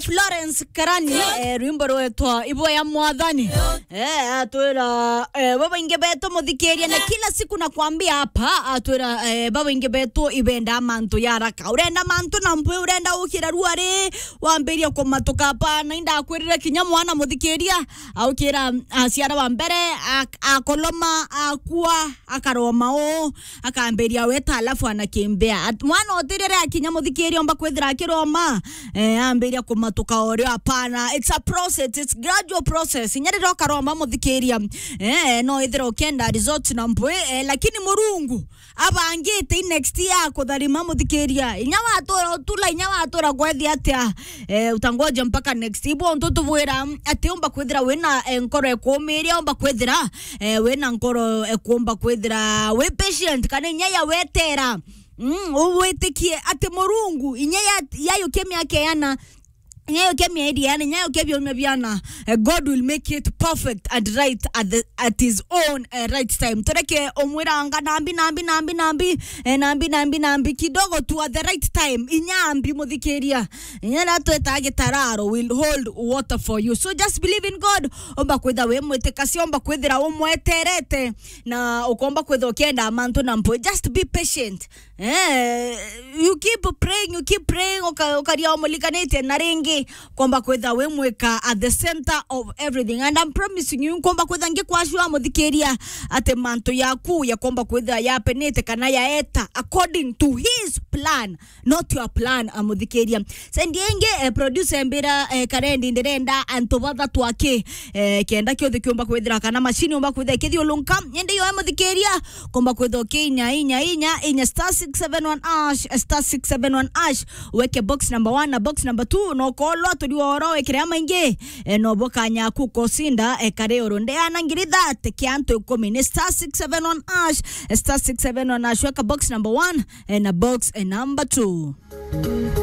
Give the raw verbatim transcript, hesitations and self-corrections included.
Florence Karani, eh, rwimbo rwetwa Ibo ya Mwathani. Eh, atwira, eh, babaingi betu muthikiria, na kila siku nakwambia hapa, atwira, eh, babaingi betu ibenda mantu ya haraka. Urenda mantu na mpwi, urenda ukira ruari, wambiria kumatuka hapa, na indakwirire kinya mwana muthikiria, aukira, aciara wa mbere, ak-, akoloma, akua, akaroma uu, akambiria weta, alafu anakimbia. At-, mwana utiri riria akinya muthikiria, omba kwithira akiroma, eh, ambiria kumatuka orio. Hapana, it's a process, it's gradual process. Inya riria ukaroma muthikiria, eh, no ithira ukenda result na mpwi, eh, lakini Murungu abangite i next year kutharima muthikiria. Inya watura utula, inya watura kwethi atia, eh, utangoja mpaka next. Ibo ntu tubwira ati umba kwithira wina, eh, nkoro ekumiria, umba kwithira, eh, wina nkoro ekumba kwithira wi patient, kana inya ya wetera. Mm, uwitikie ati Murungu, inya ya, yayukia miaka yana, inya yayukia mieri yana, inya yayukia biumia biana, eh, God will make it perfect and right at the, at his own, eh, right time. Tureke umwiranga nambi, nambi, nambi, nambi, eh, nambi, nambi, nambi, kidogo tu at the right time. Inya ambi muthikiria. Inya na tweta gitararo will hold water for you. So just believe in God. Omba kwitha wi mwitikasia, omba kwithira umweterete, na ukomba kwitha ukienda mantu na mpwi. Just be patient. Eh, you keep praying, you keep praying, uka-, ukaria umulikanitie, na ringi komba kwitha wi mwika at the center of everything. And I'm promising you, komba kwitha ngikwashua muthikiria ati mantu yaku yakomba kwitha yapenite kana yaeta according to his plan, not your plan, a muthikiria. Sendi ingi, eh, producer mbira, eh, Karendi, ndirenda antu bathatu aki, eh, kenda kiothe kiumba kwithira kana machine umba kwithira kithiulunka. Indi yo muthikiria, kumba kwithira ki inya, inya, inya, inya star six seven one hash, star six seven one hash, weke box number one na box number two, no kolwa turi oro wekire amaingi, eh, no bokanya ku kosinda, eh, kare oro. Ndeana ngiri thate kia antu ikumi ni star six seven one hash, star six seven one hash, weka box number one, eh, na box, eh, number two.